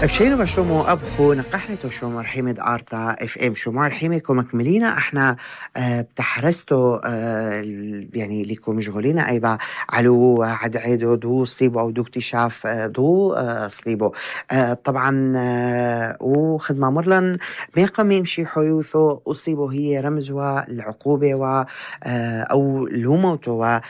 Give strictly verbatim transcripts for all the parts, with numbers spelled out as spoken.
بشينو بشومو أبخو نقحلتو شومر حمد آرتا اف ام شومر حميكو مكملينا احنا اه بتحرستو اه يعني ليكو مشغولين ايبا علو عد عيدو دو صليبو او دو اكتشاف اه دو اه صليبو اه طبعا اه وخدمة مرلن ميقا يمشي حيوثو أصيبو هي رمزوا العقوبة و اه او لوموتو و اه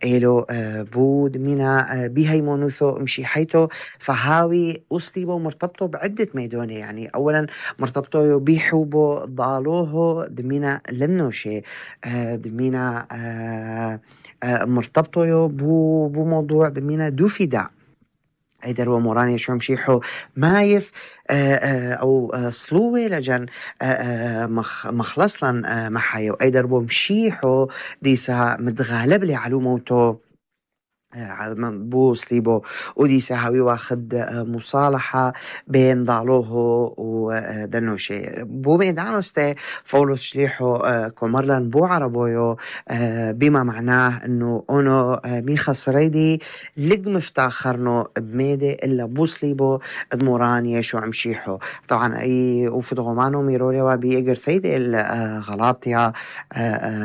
ايلو اه بود مينا اه بيهيمونوثو مشي حيتو فهاوي أصليبو مرتبطه بعدة ميدونة يعني أولا مرتبطه بيحوبو ضالوه دمينا لنوشي آه دمينا آه آه مرتبطه بو بموضوع دمينا دو فداء هيدا هو موراني شو مشيحو مايف آه آه أو آه صلوة لجن آه آه مخ مخلصلن آه محايو أيدر بو مشيحو ديسا متغالب لي علو موتو بو صليبو وديسا هاوي واخد مصالحة بين ضالوه ودنوشي بو ميدانوستي فولوس شليحو كومرلن بو عربويو بما معناه انه اونو مي خسريدي لق مفتاخرنو بميدي الا بو صليبو دموران يشو عمشيحو طبعا اي وفدغمانو ميرولي وبي اقر ثيدي الغلاطيا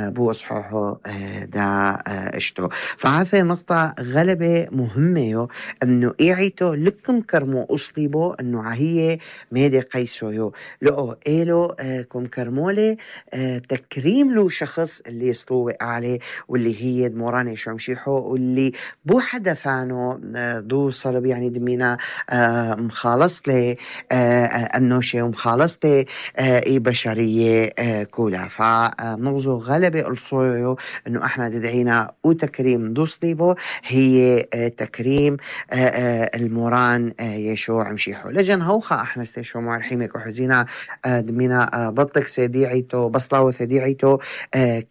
بو اصحوحو دا اشتو فهذه نقطة غلبة مهمة انه ايعيتو لكم كرمو اصليبو انه هي ميدي قيسو يو لو ايلو آه كم كرمولي آه تكريم له شخص اللي يصلوه عليه واللي هي دموراني شو مشيحو واللي بو حدا فانو آه دو صلب يعني دمينا آه مخالص لي آه النوشي ومخالص لي آه اي بشرية آه كلها فنغزو غلبة الصويو انه احنا تدعينا وتكريم دو صليبو هي تكريم الموران يشوع مشيحو لجن هوخا احنا استيشو معرحيمك وحزينا دمينا بطك سيديعيتو بصلاو سيديعيتو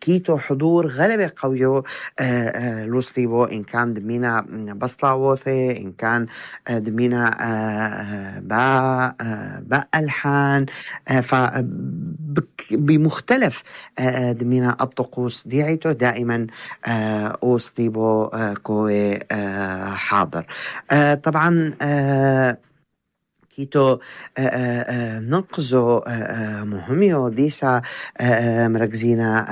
كيتو حضور غلبة قويو لوصليبو ان كان دمينا بصلاوثي ان كان دمينا با با الحان بمختلف دمينا الطقوس ديعيتو دائما أوصليبو كوي حاضر طبعا كيتو نقزو مهميو ديسا مركزينا